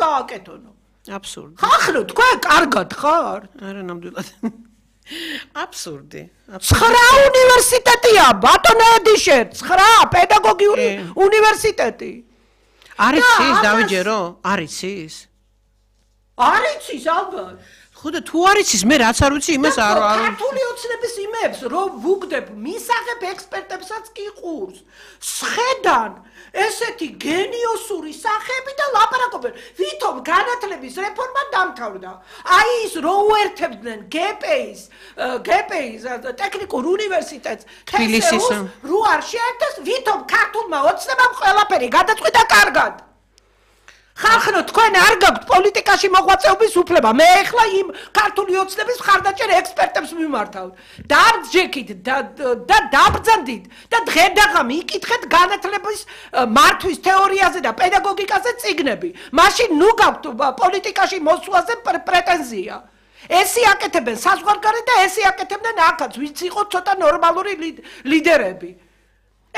გააკეთონო. აბსურდი. ხახრო თქვენ კარგად ხარ? არა ნამდვილად. აბსურდი. 9 უნივერსიტეტია, ბატონო ედიშერ, 9 პედაგოგიური უნივერსიტეტი. არის ის დავიჯერო? არის ის? არის ის ალბათ. ხოდა თუ არის ის მე რაც არ ვიცი იმას არ ქართული ოცნების იმებს რომ ვუგდებ მისაღებ ექსპერტებსაც კი ყურს სხედან ესეთი გენიოსური სახები და ლაპარაკობენ ვითომ განათლების რეფორმა დამთავრდა აი ის რო უერთებდნენ გპის ტექნიკურ უნივერსიტეტს თბილისის რო არ შეერთეს ვითომ ქართულმა ოცნებამ ყველაფერი გადაწყვიტა კარგად ხახნო თქვენ არ გაქვთ პოლიტიკაში მოღვაწეობის უფლება მე ახლა იმ ქართული ოცნების მხარდაჭერ ექსპერტებს მიმართავ დარჯექით და დაბრძანდით და დღედაღამ იკითხეთ განათლების მართვის თეორიაზე და პედაგოგიკაზე წიგნები მაშინ ნუ გაქვთ პოლიტიკაში მოსვლაზე პრეტენზია ესი აკეთებენ საზღვარგარეთ და ესი აკეთებდნენ აქაც ვინც იყო ცოტა ნორმალური ლიდერები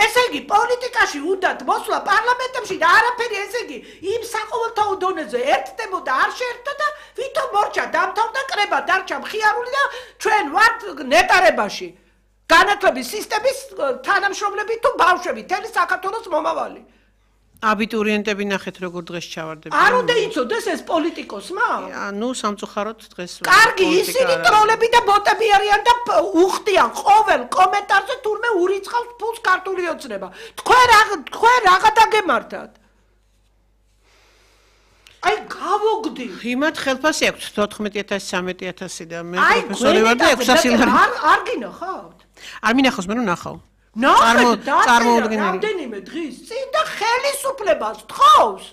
ესე იგი პოლიტიკაში უნდათ მოსვლა პარლამენტებში და არაფერი ესე იგი იმ საყოველთაო დონეზე ერთდებოდა არ შეერთდა და ვითომ მორჩა დამთავრდა კრება დარჩა მხიარული და ჩვენ ვართ ნეტარებაში განათლების სისტემის თანამშრომლები თუ ბავშვები თელი საქართველოს მომავალი აბიტურიენტები ნახეთ როგორ დღეს ჩავარდები არ უნდა იცოდეს ეს პოლიტიკოსმა ნუ სამწუხაროდ დღეს კარგი ისინი ტროლები და ბოტები არიან და უხდიან ყოველ კომენტარზე თურმე ურიცხავს ფულს ქართული ოცნება თქვენ რაღაცა დაგემართათ აი გავოგდი იმათ ხელფასი აქვს 14000 13000 და მე პროფესორი ვარ და 600 ლარი არ გინახავთ არ მინახავს მე რომ ნახავ რამდენიმე დღის წინ და ხელისუფლებას თხოვს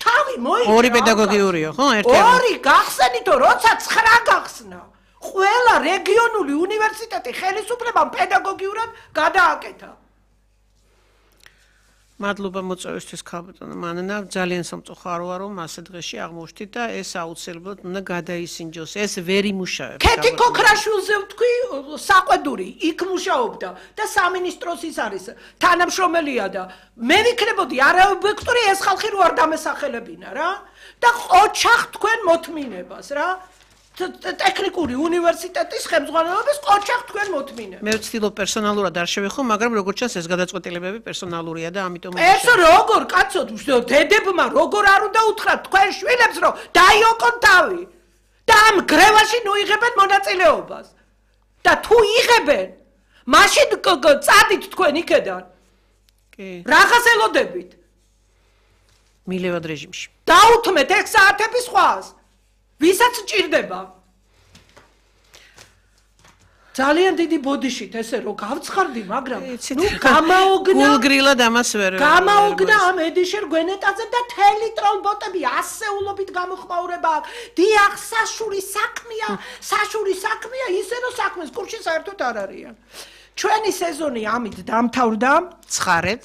თავი მოიჭრა ორი პედაგოგიურიო ხო ერთი ორი გახსენითო როცა 9 გახსნა ყველა რეგიონული უნივერსიტეტი ხელისუფლებამ პედაგოგიურად გადააკეთა მადლობა მოწვევისთვის ქალბატონო მანანა ძალიან სამწუხაროა რომ ასე დღეში აღმოჩნდით და ეს აუცილებლად უნდა გადაისინჯოს ეს ვერ იმუშავებს ქეთი ქოქრაშვილზე ვთქვი საყვედური იქ მუშაობდა და სამინისტროს ის არის თანამშრომელია და მე ვიქნებოდი არაობიექტური ეს ხალხი რო არ დამესახელებინა რა და ყოჩახ თქვენ მოთმინებას რა ტექნიკური უნივერსიტეტის ხელმძღვანელობის ყოჩახ თქვენ მოთმინე. მე ვცდილობ პერსონალურად არ შევეხო, მაგრამ როგორც ჩანს ეს გადაწყვეტილებები პერსონალურია და ამიტომ ეს როგორ კაცო დედებმა როგორ არ უნდა უთხრათ თქვენ შვილებს რომ დაიოკონ თავი და ამ გრევაში ნუიღებენ მონაწილეობას და თუ იღებენ მაშინ წადით თქვენ იქედან. კი. რახას ელოდებით? მილევად რეჟიმში. დაუთმეთ 6 საათების სხვას. ვისაც ჭირდება ძალიან დიდი ბოდიშით ესე რომ გავცხარდი მაგრამ ნუ გამაოგნა გულგრილად ამას ვერ გამაოგნა ამ ედიშერ გვენეტაზე და თელი ტროლბოტები ასეულობით გამოხმაურება დიახ საშური საქმეა ისე რომ საქმეს კურსში საერთოდ არ არიან ჩვენი სეზონი ამით დამთავრდა ცხარეთ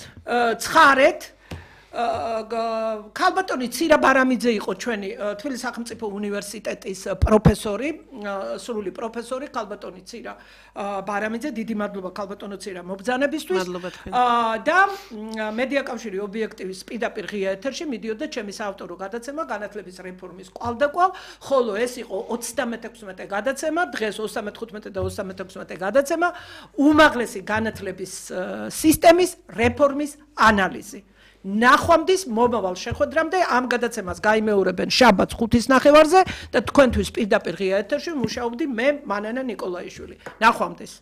ქალბატონი ცირა ბარამიძე იყო ჩვენი თბილისის სახელმწიფო უნივერსიტეტის პროფესორი, სრული პროფესორი ქალბატონი ცირა ბარამიძე, დიდი მადლობა ქალბატონო ცირა მობრძანებისთვის. და მედია კავშირი ობიექტივის პირდაპირ ღია ეთერში მიდიოდა ჩემი საავტორო გადაცემა განათლების რეფორმის კვალდაკვალ, ხოლო ეს იყო 36 გადაცემა, დღეს 35 და 36 გადაცემა, უმაღლესი განათლების სისტემის რეფორმის ანალიზი. ნახვამდის მომავალ შეხვედრამდე ამ გადაცემას გაიმეორებენ შაბათს 5:30-ზე და თქვენთვის პირდაპირ ღია ეთერში მუშაობდი მე მანანა ნიკოლაიშვილი. ნახვამდის.